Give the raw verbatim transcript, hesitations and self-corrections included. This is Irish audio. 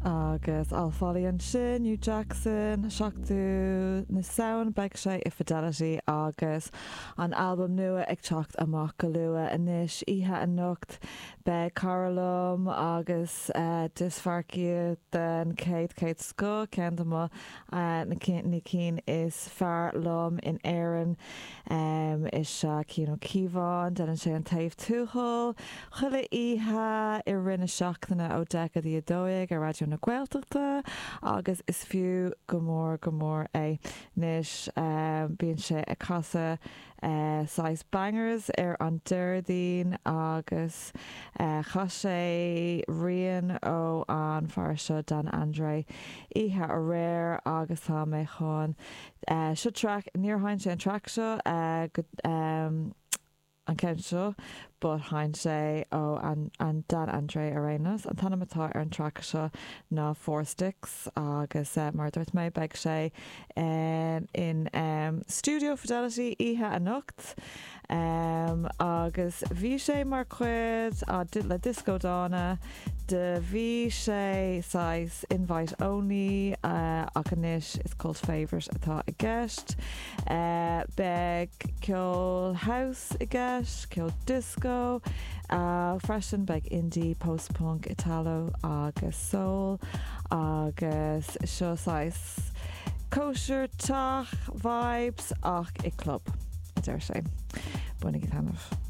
Agus Al Foley ansin, Hugh Jackson, seachtú na Samhna beidh sé i Fidelity agus an albam nua ag teacht amach go luath anois oíche anocht beidh cara liom agus uh, discmharcaí den céad céad scoth ceann de mo uh, na cinn is fearr liom in Éirinn um, is ea Cian Ó Cíobháin, déanann sé an Taobh Tuathail, chuile oíche i rith na seachtaine ó deich go dtí a dó dhéag ar Raidió na Gaeltachta agus is fiú go mór go mór é. Anois um, bíonn sé ag casadh uh, saghas bangers ar an Déardaoin agus uh, chas sé rian ó an fear seo Dan Andre oíche aréir agus tá mé chun uh, seo track níor sheinn sé an track seo uh, go, um, an ceann seo, but sheinn sé ó an, an Dan Andre Arenas. An t-ainm atá ar an track seo ná Four Sticks agus uh, mar dúirt mé beidh sé in, in um, Studio Fidelity oíche anocht. Um, agus bhí sé mar chuid le Disco Dána de bhí sé saghas invite only uh, ach anois is cult favourite atá i gceist. Uh, beidh ceol house i gceist, ceol disco, uh, freisin beidh indie, post-punk, Italo agus soul agus seo saghas cóisir teach vibes ach i club a deir sé. Bainigí taitneamh.